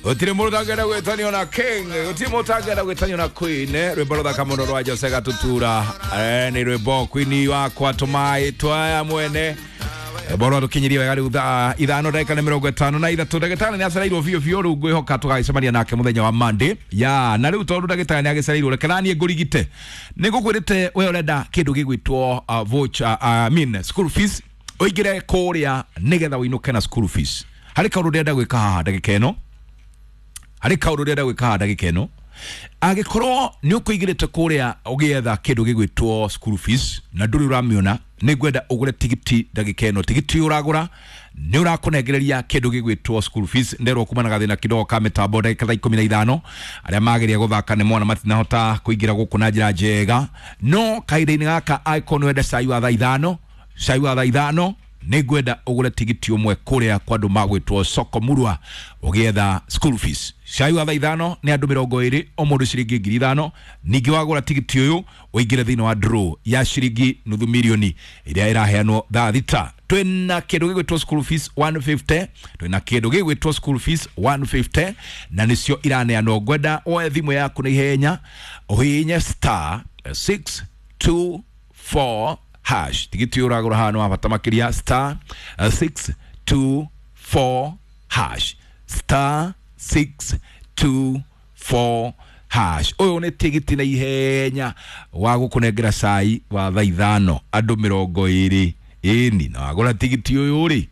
Gũtirĩ mũndũ ũtangĩenda gwĩtanio na king, gũtirĩ mũndũ ũtangĩenda gwĩtanio na queen. Rwĩmbo rũthaka mũno rwa Jose Gatutura. Nĩ rwĩmbo queen wakwa tũmaĩ twaya mwene. Rwĩmbo rwatũkinyirie wega rĩu thaa 5 ndagĩka nĩ 53. Ndagĩtarĩ nĩ acereirwo biũ biũ, rĩu ngwĩhoka tũgagĩcemania nake mũthenya wa Monday. Ya na rĩu tondũ ndagĩtarĩ nĩ agĩcereirwo, reke naniĩ ngũrigite. Nĩ ngũkwĩrĩte we ũrenda kĩndũ gĩgwĩtwo voucher, I mean school fees, ũingĩre kũrĩa nĩgetha ũinũke na school fees. Harĩ kaũndũ ndĩrenda gwĩka haha ndagĩka ĩno, harĩ kaũndũ ndĩrenda gwĩka haha ndagĩka ĩno. Angĩkorwo nĩ ũkũingĩrĩte kũrĩa ũgĩetha kĩndũ gĩgwĩtwo school fees na ndũrĩ ũramĩona, nĩ ngwenda ũgũre tigiti ndagĩka ĩno. Tigiti ũragũra nĩ ũrakũnengereria kĩndũ gĩgwĩtwo school fees. Nderwo kuma na gathĩna kidogo ka mĩtambo ndagĩka thaa 15, arĩa mageria gũthaka nĩ mona matinahota kũingĩra gũkũ na njĩra njega, no kahinda-inĩ gaka angĩkorwo nĩ wenda cai wa thaa 5, cai wa thaa 5, nĩ ngwenda ũgũre tigiti ũmwe kũrĩa kwa andũ magwĩtwo Soko Murwa ũgĩetha school fees. Cai wa thaa 5 nĩ andũ 20, o mũndũ ciringi 5,000. Ningĩ wagũra tigiti ũyũ ũingĩre thĩinĩ wa draw ya ciringi nuthu milioni ĩrĩa ĩraheanwo thaa 6. Twĩna kĩndũ gĩgwĩtwo school fees 150, twĩna kĩndũ gĩgwĩtwo school fees 150 na nĩcio iraneanwo. Ngwenda woe thimũ yaku na ihenya ũhihinye star 624 hash. Tigiti ũyũ ũragũra haha nĩ wa bata makĩria, star 624 hash, star 624 hash. Ũyũ nĩ tigiti na ihenya wa gũkũnengera cai wa thaa 5 andũ 20. Ĩni na wagũra tigiti ũyũ rĩ,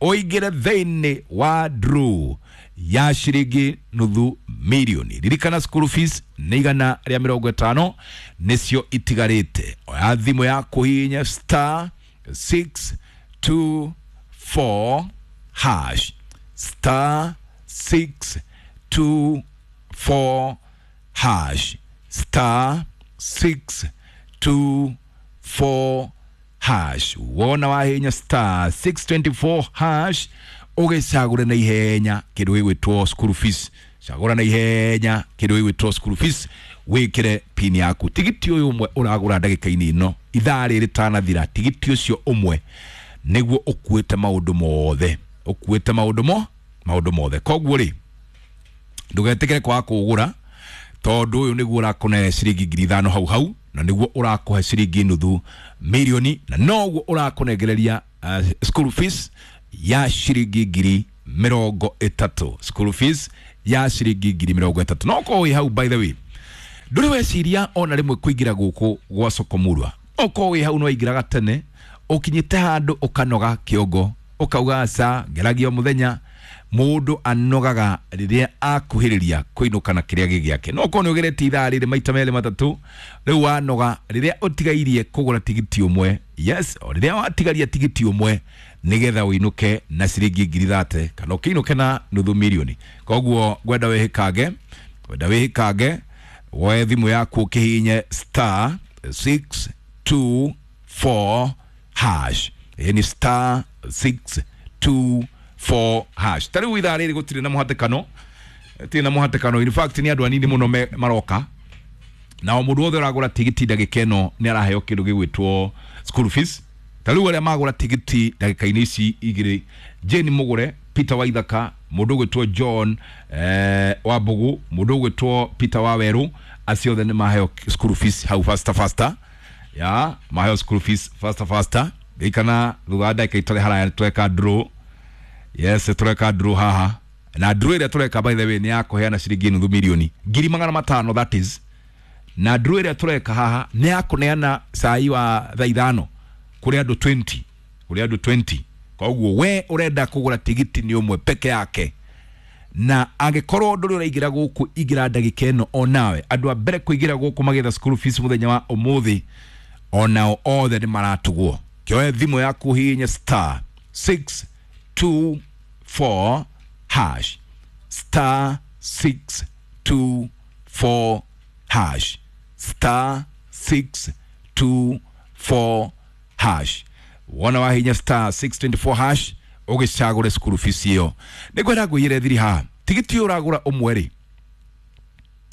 ũingĩre thĩinĩ wa draw ya ciringi nuthu milioni. Ririkana school fees nĩ 150 nĩcio itigarĩte. Oya thimũ yaku hihinya star 624 hash, star 624 hash, star 624 hash. Wona wahinya star 624 hash ũgĩcagũre na ihenya kĩndũ gĩgwĩtwo school fees. Cagũra na ihenya kĩndũ gĩgwĩtwo school fees, wĩkĩre pin yaku. Tigiti ũyũ ũmwe ũragũra ndagĩka-inĩ ĩno ithaa rĩrĩ rĩtanathira, tigiti ũcio ũmwe nĩguo ũkuĩte maũndũ mothe, ũkuĩte maũndũ mo maũndũ mothe. Koguo rĩ, ndũgetĩkĩre kwaga kũũgũra tondũ ũyũ nĩguo ũrakũne ciringi 5,000 hau hau, na nĩguo ũrakũhe ciringi nuthu milioni, na noguo ũrakũnengereria school fees ya ciringi 30,000, school fees ya ciringi 30,000. No korwo wĩ hau, by the way, ndũrĩ weciria ona rĩmwe kũingĩra gũkũ gwa Soko Murwa. Okorwo wĩ hau no waingĩraga tene, ũkinyĩte handũ ũkanoga kĩongo, ũkauga aca, ngeragia o mũthenya. Mũndũ anogaga rĩrĩa akuhĩrĩria kũinũka na kĩrĩa gĩ gĩake. No okorwo nĩ ũgeretie ithaa rĩrĩ maita merĩ matatũ, rĩu wanoga rĩrĩa ũtigairie kũgũra tigiti ũmwe. Yes, o rĩrĩa watigaria tigiti ũmwe nĩgetha ũinũke na ciringi 30,000 kana ũkĩinũke na nuthu milioni. Koguo ngwenda wĩhĩkange, ngwenda wĩhĩkange, woe thimũ yaku ũkĩhihinye star 624 hash. Ĩĩ ni star 624 hash. Ta rĩu ithaa rĩrĩ gũtirĩ na mũhatĩkano, gũtirĩ na mũhatĩkano. In fact nĩ andũ anini mũno maroka, na o mũndũ wothe ũragũra tigiti ndagĩka ĩno nĩ araheo kĩndũ gĩgwĩtwo school fees. Ta rĩu arĩa magũra tigiti ndagĩka-inĩ ici igĩrĩ, Jane Mũgũre, Peter Waithaka, mũndũ ũgwĩtwo John Wambugu, mũndũ ũgwĩtwo Peter Wawerũ, acio othe nĩ maheo school fees hau faster faster. Ya maheo school fees faster faster. Ririkana thutha wa ndagĩka itarĩ haraya tũreka draw. Yes, tũreka draw haha, na draw ĩrĩa tũreka, by the way, nĩ ya kũheana ciringi nuthu milioni, 500,000 that is. Na draw ĩrĩa tũreka haha nĩ ya kũneana cai wa thaa 5 kũrĩ andũ 20, kũrĩ andũ 20. Koguo we ũrenda kũgũra tigiti nĩ ũmwe peke yake, na angĩkorwo ndũrĩ ũraingĩra gũkũ, ingĩra ndagĩka ĩno o nawe. Andũ a mbere kũingĩra gũkũ magĩetha school fees mũthenya wa ũmũthĩ onao othe nĩ maratugwo. Kĩoe thimũ yaku hihinye star 624 hash, star 624 hash, star 624 hash. Wona wahinya star 624 hash ũgĩcagũre school fees ĩyo. Nĩ ngwenda ngwĩyĩre thiri haha, tigiti ũyũ ũragũra ũmwe rĩ,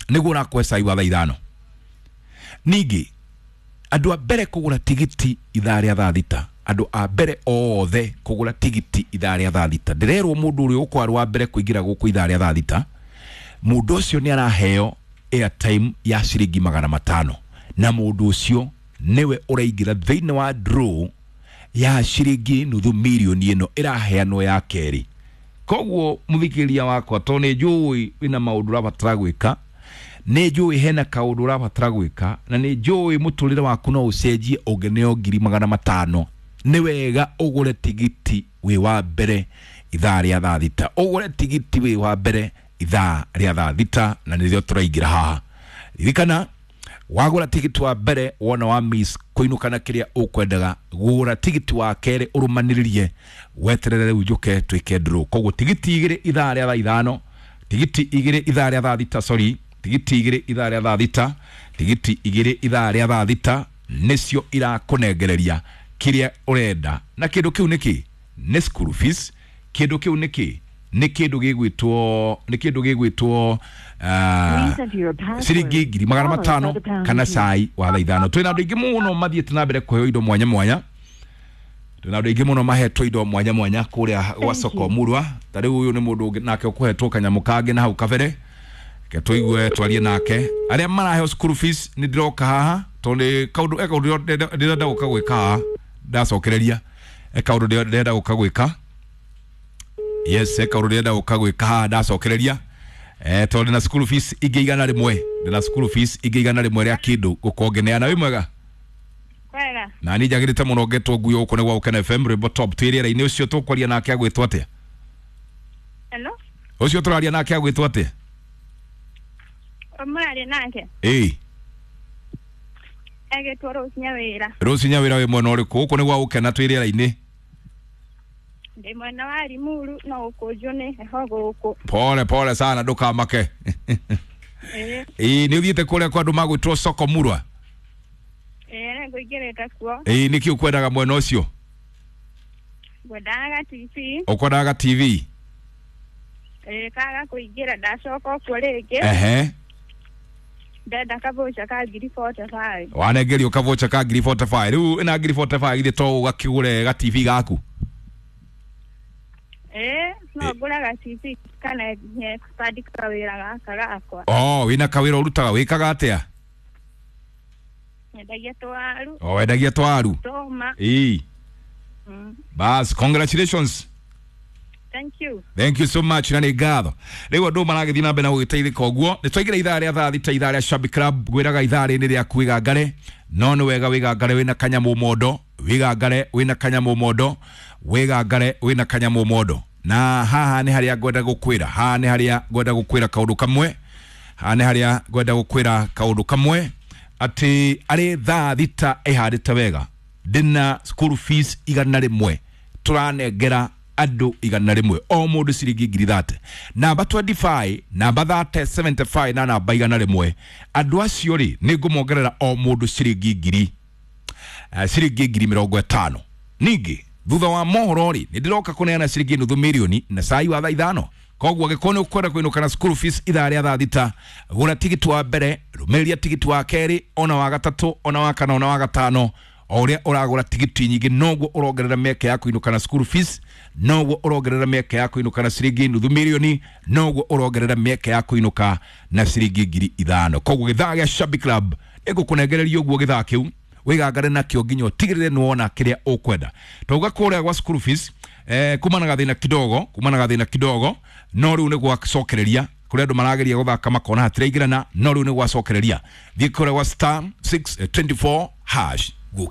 nĩguo ũrakũhe cai wa thaa 5. Ningĩ andũ a mbere kũgũra tigiti ithaa rĩa thaa 6, andũ a mbere othe kũgũra tigiti ithaa rĩa thaa 6, ndĩrerwo mũndũ ũrĩa ũkwarĩ wa mbere kũingĩra gũkũ ithaa rĩa thaa 6. Mũndũ ũcio nĩ araheo airtime ya ciringi 500, na mũndũ ũcio nĩwe ũraingĩra thĩinĩ wa draw ya ciringi 500,000 ĩno ĩraheanwo ya kerĩ. Koguo mũthikĩrĩria wakwa, tondũ nĩ njũĩ wĩna maũndũ ũrabatara gwĩka, nĩ njũĩ hena kaũndũ ũrabatara gwĩka, na nĩ njũĩ mũtũrĩre waku no ũcenjie ũngĩneo 500,000, nĩ wega ũgũre tigiti wĩ wa mbere ithaa rĩa thaa 6, ũgũre tigiti wĩ wa mbere ithaa rĩa thaa 6, na nĩrĩo tũraingĩra haha. Ririkana, wagũra tigiti wa mbere wona wa miss kũinũka na kĩrĩa ũkwendaga, gũra tigiti wa kerĩ ũrũmanĩrĩrie, weterere rĩu njũke twĩke draw. Koguo tigiti 2 ithaa rĩa thaa 5, tigiti 2 ithaa rĩa thaa 6, sorry, tigiti 2 ithaa rĩa thaa 6, tigiti 2 ithaa rĩa thaa 6 nĩcio irakũnengereria kĩrĩa ũrenda. Na kĩndũ kĩu nĩkĩ? Nĩ school fees. Kĩndũ kĩu nĩkĩ? Nĩ kĩndũ gĩgwĩtwo, nĩ kĩndũ gĩgwĩtwo ciringi 500,000 kana cai wa thaa 5. Twĩna andũ aingĩ mũno mathiĩte na mbere kũheo indo mwanya mwanya, twĩna andũ aingĩ mũno mahetwo indo mwanya mwanya kũrĩa gwa soko Murwa. Ta rĩu ũyũ nĩ mũndũ ũngĩ nake ũkũhetwo kanyamũ kangĩ na hau kabere, reke tũigue twarie nake. Arĩa maraheo school fees nĩ ndĩroka haha tondũ nĩ kaũndũ e kaũndũ ndĩrenda gũka gwĩka haha, ndacokereria e kaũndũ ndĩrenda gũka gwĩka. Yes, e kaũndũ ndĩrenda gũka gwĩka haha, ndacokereria tondũ ndĩna school fees ingĩ 100, ndĩna school fees ingĩ 100 rĩa kĩndũ gũkorwo ngĩneana. Wĩ mwega? Kwega. Na niĩ njagĩrĩte mũno ngetwo nguo gũkũ nĩ gwa Gũkena FM, rwĩmbo top twĩ rĩera-inĩ. Ũcio tũkwaria nake agwĩtwo atĩa? Hello? Ũcio tũraria nake agwĩtwo atĩa? Mũraria nake? Ĩĩ. Egĩtwo Rose Nyawĩra. Rose Nyawĩra, wĩ mwena ũrĩkũ? Gũkũ nĩ gwa Gũkena, twĩ rĩera-inĩ. Ndĩ mwena wa Limuru, no gũkũnjwo nĩ heho gũkũ. Pole pole sana, ndũkamake. Ĩĩ. Ĩĩ, nĩ ũthiĩte kũrĩa kwa andũ magwĩtwo soko Murwa? Ĩĩ, nĩngũingĩrĩte kuo. Ĩĩ, nĩkĩ ũkwendaga mwena ũcio? Ngwendaga TV. Ũkwendaga TV? Ĩĩ, kaga kũingĩra ndacoka kuo rĩngĩ. Ehe. Ndenda kabocha ka 45,000. Wanengerio kabocha ka 45,000. Rĩu ĩna 45,000 githĩ to ũgakĩgũre ga TV gaku? Ĩĩ, no ngũre ga TV kana nye kwandĩka wĩra gaka gakwa. Oh, wĩna kawĩra ũrutaga, wĩkaga atĩa? Nyendagia twaru. Oh, wendagia twaru? Toma. Ĩĩ. Bas, congratulations. Thank you. Thank you so much, na nĩ ngatho. Rĩu andũ maragĩthiĩ na mbere na gũgĩteithĩka ũguo. Nĩ twaingĩra ithaa rĩa thaa 6, ithaa rĩa Shabby Club. Ngwĩraga ithaa rĩrĩ rĩaku wĩgangare, no nĩ wega wĩgangare wĩna kanyamũ mondo, wĩgangare wĩna kanyamũ mondo, wĩgangare wĩna kanyamũ mondo. Na haha nĩ harĩa ngwenda gũkwĩra, haha nĩ harĩa ngwenda gũkwĩra kaũndũ kamwe, haha nĩ harĩa ngwenda gũkwĩra kaũndũ kamwe, atĩ arĩ thaa 6 ĩhandĩte wega, ndĩna school fees 100 tũranengera andũ 100, o mũndũ ciringi 30,000. Namba 25, namba 30, 75 na namba 100. Andũ acio rĩ, nĩ ngũmongerera o mũndũ ciringi ciringi 50,000. Ningĩ thutha wa mohoro rĩ, nĩ ndĩroka kũneana ciringi 500,000 na cai wa thaa 5. Koguo angĩkorwo nĩ ũkwenda kũinũka na school fees ithaa rĩa thaa 6, gũra tigiti wa mbere, rũmĩrĩria tigiti wa kerĩ, ona wa gatatũ, ona wa kana, ona wa gatano. O ũrĩa ũragũra tigiti nyingĩ noguo ũrongerera mĩeke ya kũinũka na school fees, noguo ũrongerera mĩeke ya kũinũka na ciringi 500,000, noguo ũrongerera mĩeke ya kũinũka na ciringi 5,000. Koguo gĩthaa gĩa Shabby Club ĩgũkũnengereria ũguo gĩthaa kĩu wĩgangare nakĩo nginya ũtigĩrĩre nĩ wona kĩrĩa ũkwenda. Twauga kũrĩa gwa school fees, kuma na gathĩna kidogo, kuma na gathĩna kidogo, no rĩu nĩ gwacokereria kũrĩa andũ marageria gũthaka makona hatiraingĩrana, no rĩu nĩ gwacokereria. Thiĩ kũrĩa gwa star 624 hash.